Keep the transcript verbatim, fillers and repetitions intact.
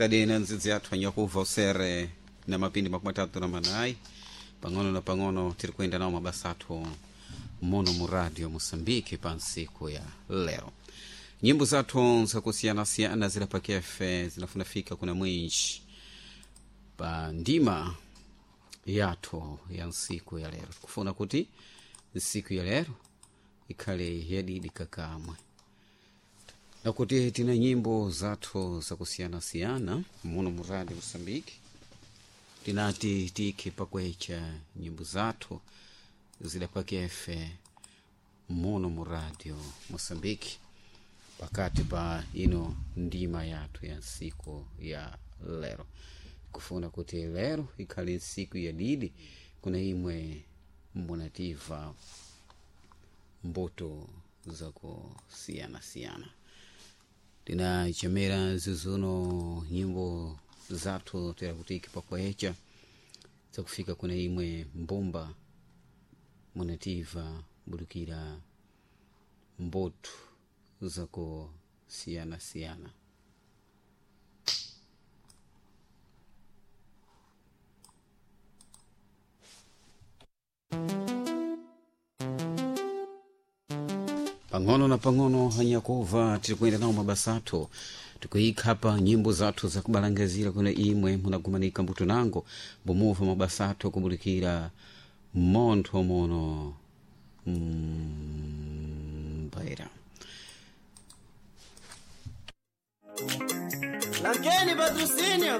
Tadena ndzidzi athu anyakuva usere na mapindi makumi atatu na manayi pang'ono na pang'ono tiri kuyenda nawo mabasa athu muno mu radio Moçambique pa ntsiku ya lero. Nyimbo zathu zakusiyanasiyana zilapakefe zinafunafika kuna mwinji pa ndima yathu ya ntsiku ya lero. Tikufuna kuti ntsiku ya lero ikhale yadidi kakamwe nakuti tina nyimbo zathu zakusiyanasiyana muno mu radio Moçambique. Tinati tikhe pakwecha nyimbo zathu zidapakefe muno mu radio Moçambique pakati pa ino ndima yathu ya ntsiku ya lero. Kufuna kuti lero ikhale ntsiku yadidi kuna imwe mbunativa mbuto zakusiyanasiyana. Tinachemera zizuno nyimbo zathu tirakutiki pakwecha zakufika kuna imwe mbumba munativa budukira mbuto zakusiyanasiyana. Pang'ono na pang'ono hanyakuva tiri kuyenda nawo mabasa athu, tikuyikhapa nyimbo zathu zakubalangazira kuna imwe munagumanika mbuto nango mbumuva mabasa athu kubulikira montho mono mbaira. Lankeni patrocínio.